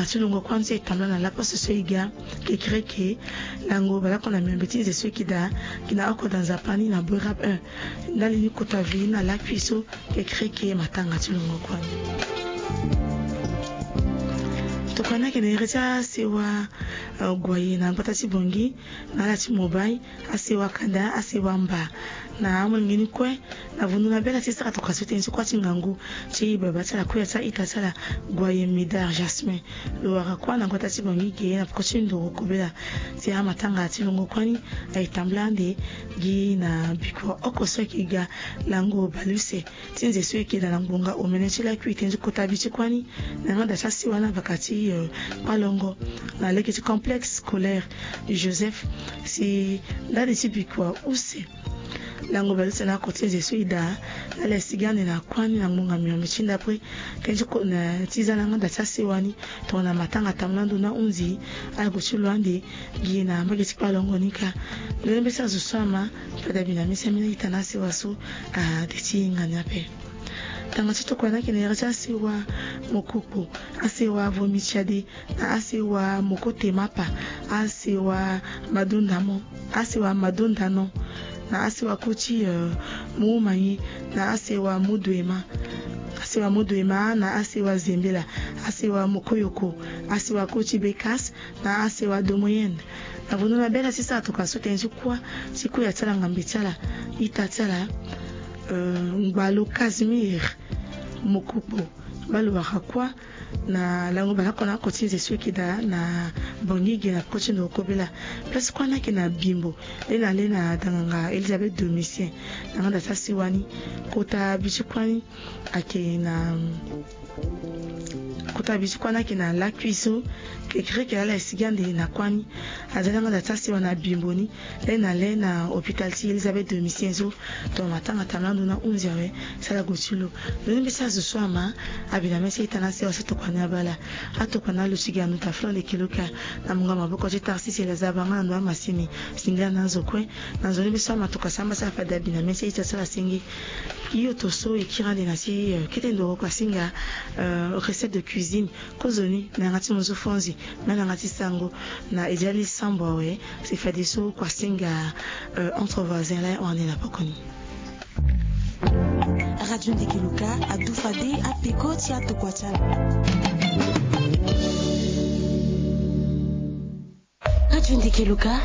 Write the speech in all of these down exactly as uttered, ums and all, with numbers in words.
Ti longo kuâ ni so e tambula na laposte so e ga kekereke lango baleoko na miombe ti nze so e ke daa gi na oko daa nzapa ni na Boerab un. Ndali ni kota ve na lakui so kekereke matanga ti longo kuâ ni. Tokua ni ayeke na iri ti asewa, eh, Guaye na gbata ti Bangui, na ala ti Mobai, asewa Kanda, asewa Mba. Na amolenge ni kue, na vundu na bela ti sara tokua so tënë ti kuâ ti ngangu ti baba ti ala, kuya ti a-ita ti ala, Guaye Médard Jasmin. Lo wara kuâ na gbata ti Bangui ge na peko ti nduru kobela. Ti amatanga ti longo kuâ ni aye tambula ande gi na bikua oko so ayeke ga lango bale use ti nze so e ke daa na ngbonga omene ti lakui tënë ti kota bi ti kuâ ni. Na yanga daa ti asewa ni abaka ti, eh, kpalongo na lege ti complexe scolaire Joseph, si ndali ti bikua use lango bale use na oko ti nze so e daa, na ala sigi ande na kuâ ni na ngbonga miombe ti ndapre. Tënë ti ko na ti za na yanga daa ti asewa ni tongana matanga tambula ndo na hunzi, ala gue ti lo ande gi na mbage ti kpalongo ni kâ. Ndoni mbeti azo so ama, fade abi na mese ambeni a-ita na asewa so ade ti hinga ni ape. Tanga ti tokua ni ayeke na iri ti asewa Mokokpo, asewa Vomi Tiade, na asewa Moko Temapa, asewa Madondamo, asewa Madondano, na asewa koti, eh, Mumangi, na asewa Muduema, asewa Muduema, na asewa Zembela, asewa Mokoyoko, asewa koti Bekas, na asewa Domoyenne. Na vundu na bela ti sara tokua so tënë ti kuâ ti kuya ti ala ngambe ti ala, ita ti ala, eh, Ngbalo Casimir Mokokpo, baa lo wara kuâ na lango baleoko na oko ti nze so e ke daa na Bangui ge na peko ti nduru kobela. Place kuâ ni ayeke na Bimbo, le na le na danganga Elisabeth Domitien. Na yanga daa ti asewa ni, kota bi ti kuâ ni ayeke na, kota bi ti kuâ ni ayeke na lakui so kekereke laa ala sigi ande na kuâ ni. Aza na yanga daa ti asewa na Bimbo ni, le na le na hôpital ti Elisabeth Domitien so. Tongana matanga tambula ndo na hunzi awe, si ala gue ti lo. Ndoni mbeti azo so ama, abi na mese a-ita na asewa so tokua ni abaa ala. Atokua na lo ti ga na ndo ta Flon de Keloka, na mungo maboko ti Tarsis Elazar Banga na ndo amasini. Singila na azo kue. Na nzoni mbeti so ama tokua samba ti ala fade abi na mese a-ita ti ala senge. Hio to so e kiri ande na ti, eh, kete ndoro kuasinga, eh, recette de cuisine. Kozoni na yanga ti muzu fonzi, me na yanga ti sango, na e dia li sambo awe, si fadeso kuasinga, eh, entre voisins laa e hon ande na poko ni. Radio Ndeke Luka adu fade apeko ti atokua ti ala. Radio Ndeke Luka.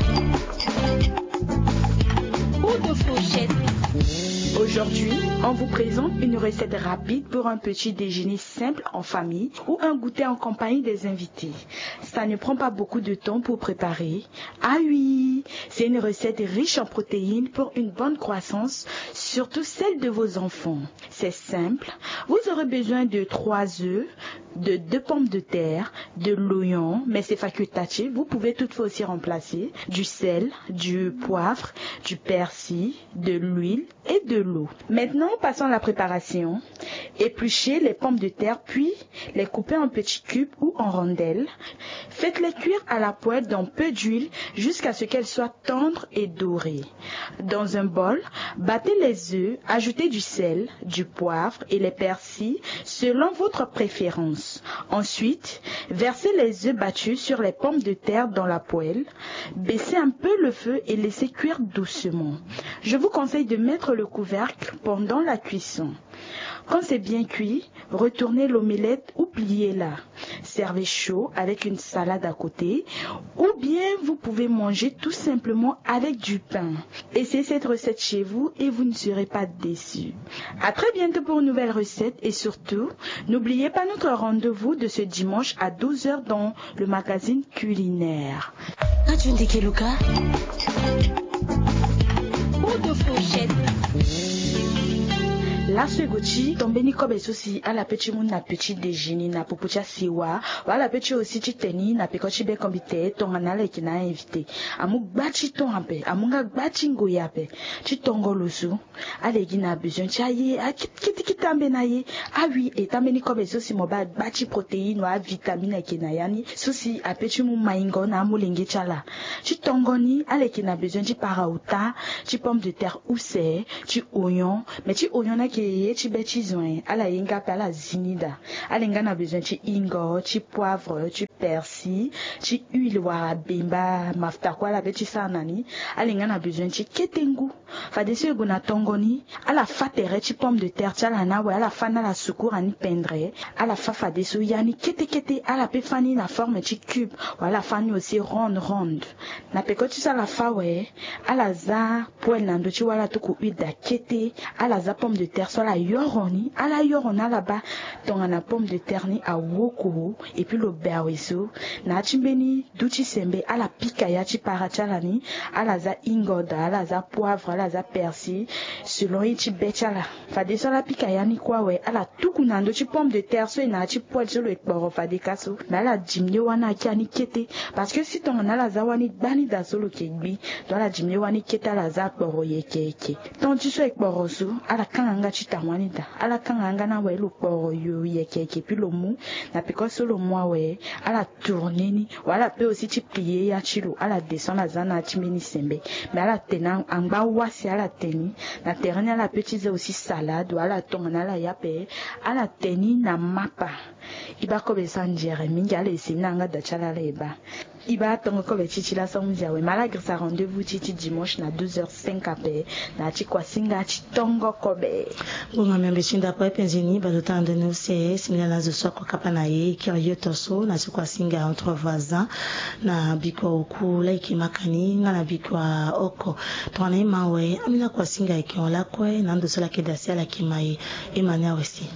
Ou de fourchette. Aujourd'hui, on vous présente une recette rapide pour un petit déjeuner simple en famille ou un goûter en compagnie des invités. Ça ne prend pas beaucoup de temps pour préparer. Ah oui, c'est une recette riche en protéines pour une bonne croissance, surtout celle de vos enfants. C'est simple. Vous aurez besoin de trois œufs, de deux pommes de terre, de l'oignon, mais c'est facultatif. Vous pouvez toutefois aussi remplacer du sel, du poivre, du persil, de l'huile et de l'eau. Maintenant, passons à la préparation. Épluchez les pommes de terre, puis les coupez en petits cubes ou en rondelles. Faites-les cuire à la poêle dans peu d'huile jusqu'à ce qu'elles soient tendres et dorées. Dans un bol, battez les œufs, ajoutez du sel, du poivre et les persils selon votre préférence. Ensuite, versez les œufs battus sur les pommes de terre dans la poêle, baissez un peu le feu et laissez cuire doucement. Je vous conseille de mettre le couvercle pendant la cuisson. Quand c'est bien cuit, retournez l'omelette ou pliez-la. Servez chaud avec une salade à côté, ou bien vous pouvez manger tout simplement avec du pain. Essayez cette recette chez vous et vous ne serez pas déçus. À très bientôt pour une nouvelle recette et surtout, n'oubliez pas notre rendez-vous de ce dimanche à douze heures dans le magazine culinaire. Radio Ndeke Luka. Ou de fourchette. Laso e gue ti tombeni kobe so si ala pe ti mu na petit déjeuner na popo ti asewa, wala ala pe ti aussi ti tene na peko ti bekombite tongana ala yeke na a-invité. Amu gba ti ton ape, amu nga gba ti ngoi ape ti tongo lo so. Ala gi na besoin ti aye, a kit-, kiti kiti ambeni aye. Ah oui, e tambeni kobe so si mo baa gba ti protéine wala avitamine ayeke na ya ni, so si ape ti mu maingo na amolenge ti ala. Ti tongo ni, ala yeke na besoin ti para ota, ti pomme de terre use, ti oignon, mais ti oignon ni ayeke Ye ti be ti zo en ala ye nga ape ala zi ni daa. Ala ye nga na besoin ti ingo, ti poivre, ti persil, ti huile wala bemba, mafuta kue ala be ti sara na ni. Ala ye nga na besoin ti kete ngu. Fadeso e gue na tongo ni, ala fâ tere ti pomme de terre ti ala ni awe, ala fâ ni ala sukura ni pendre. Ala fâ fadeso ya ni kete kete, ala pe fâ ni na forme ti cube, wala ala fâ ni aussi ronde ronde. Na peko ti so ala fâ awe, ala za poêle na ndö ti wâ ala tuku huile daa kete. Ala za pomme de terre so ala yoro ni, ala yoro ni ala baa tongana pomme de terre ni awoko. Et puis lo be awe so, na ya ti mbeni du ti sembe ala pika ya ti para ti ala ni. Ala za ingo daa, ala za poivre, ala za persil, selon ye ti be ti ala. Fadeso ala pika ya ni kue awe, ala tuku na ndö ti pomme de terre so e na ya ti poêle so lo e kporo fade ka so. Mais ala diminuer wâ ni aki ya ni kete. Parce que si tongana ala za wâ ni gbani daa so lo ke gbi. Donc ala diminuer wâ ni kete, ala za akporo yeke yeke. Temps ti so e kporo so, ala kanga nga ti tawani daa. Ala kanga nga ni awe lo kporo yo yeke yeke puis lo mu. Na peko so lo mu awe, ala tourner ni. Wala ala pe aussi ti plier ya ti lo, ala descend, ala za na ya ti mbeni sembe. Mais ala tene angba wâ si ala tene ni. Na tere ni ala pe ti za aussi salade, wala ala tongana ala ya ape, ala tene ni na mapa. E baa kobe e sara nzere mingi, ala essayer ni na yanga da ti ala, ala e baa. E baa tongo kobe ti ti laso ahundi awe, me ala girisa rendez-vous ti ti dimanche na douze heures cinq ape. Na ya ti kuasinga ti tongo kobe. Ngbonga miombe ti ndako aye penze ni bado tanga ndoni use. Singila na zo so ako kapa na e, e kiri yo to so na ti kuasinga entre voisins, na bikua oku la e ke maka ni nga na bikua oko. Tongana e ma awe, ambeni akuasinga e ke hon lakue na ando so la ke daa si ala ke ma e. E ma ni awe si.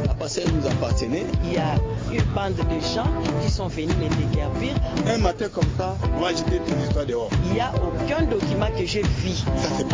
La parcelle nous appartenait. Il y a une bande de gens qui sont venus me déguerpir. Un matin comme ça, moi j'étais tout le temps dehors. Il n'y a aucun document que j'ai vu. Ça, c'est pas